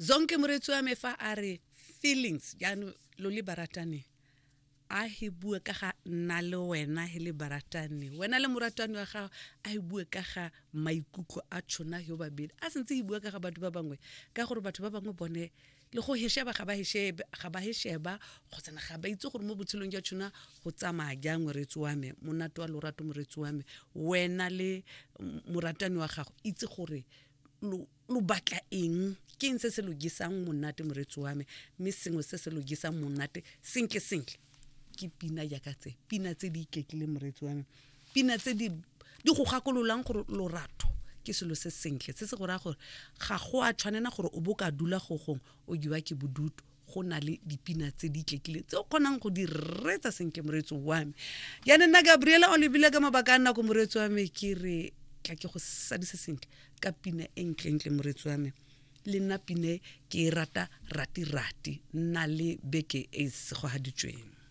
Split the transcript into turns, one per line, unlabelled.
Zonke moreetsi wa me fa a re feelings jaanong lo le baratane a he bue ka ga nna le wena he le baratane wena le moratani wa gago a he bue ka ga maikutlo a tshona yo babedi a sentse he bua ka ga batho ba bangwe ka gore batho ba bangwe bone le go hesheba ga ba heshebe ga ba hesheba kgotsana ga ba itse gore mo botshelong jwa tshona go tsamaya jang moreetsi wa me monate wa lorato moreetsi wa me wena le moratani wa gago itse gore lo lo batla eng ke eng se se lo jesang monate moreetsi wa me mme sengwe se se lo jesang monate sentle sentle ke pina jaaka tse pina tse di iketlile moreetsi wa me pina tse di di go gakololang gore lorato ke selo se sentle se se go raya gore ga go a tshwanela gore o bo ka dula go gongwe o jewa ke bodutu go na le dipina tse di iketlile tse o kgonang go di reetsa sentle moreetsi wa me jaanong nna Gabriela o lebile ka mabaka a nako moreetsi wa me ke re tla ke go sadise sentle ka pina e ntlentle moreetsi wa me le nna pine ke e rata rati-rati nna le beke e e segogaditsweng.